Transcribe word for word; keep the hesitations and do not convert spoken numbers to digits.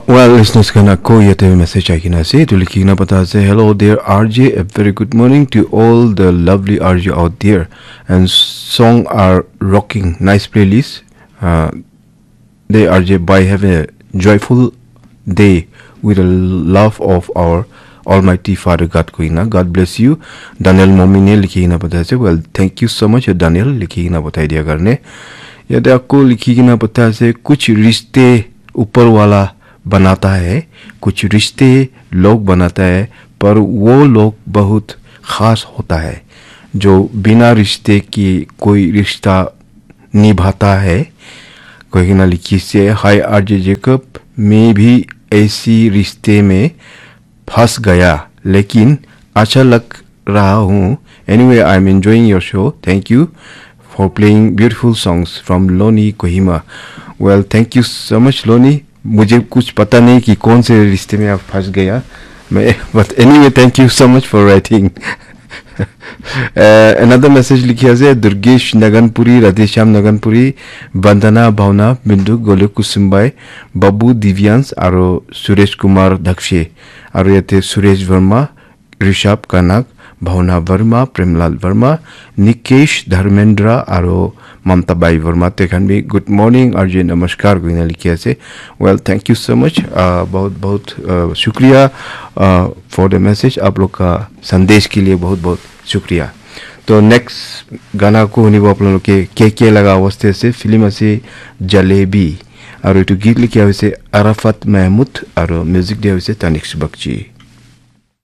Well, listeners, khan, ako yate message ahi kena ase. Etu likhi kena pata ase, "Hello there, R J. A very good morning to all the lovely R J out there. And song are rocking. Nice playlist. Uh, day R J, bye. Have a joyful day with the love of our Almighty Father God," koina. God bless you. Daniel Momine likhi kena pata ase. Well, thank you so much, Daniel, likhi kena patai dia karne. Yate ako likhi kena pata ase, "Kuch rishte upar wala banata hai, kuch rishte log banata hai, par wo log bahut khas hota hai, jo bina rishte ki koi rishta nibhata hai," koi kena likhi ase. "Hi R J Jacob, main bhi aisi rishte mein phas gaya, lekin acha lag raha hu. Anyway, I'm enjoying your show. Thank you for playing beautiful songs from Loni Kohima." Well, thank you so much, Loni. मुझे कुछ पता नहीं कि कौन से रिश्ते में आप फंस गया मैं, but anyway, thank you so much for writing. Uh, another message likhi ase, Durgesh Naganpuri, Radheshyam Naganpuri, Vandana Bhavna, Bindu Gole Kusumbai, Babu Divyans, aro Suresh Kumar Dakshe, aro yate Suresh Verma, Rishabh Kanak, Bhavna Verma, Premlal Verma, Nikesh Dharmendra, aro Mamta Bai Verma, te khan bi, "Good morning, R J, namaskar," koina likhi ase. Well, thank you so much. Uh, bahut, bahut, uh, shukriya, uh, for the message. Aap log ka sandesh ke liye bahut, bahut shukriya. To next gana ko hunibo apnaloke, K K laga awaste ase, film ase Jalebi. Aru etu git likha hoise Arafat Mahmud, aru music dia hoise Tanik Subakji.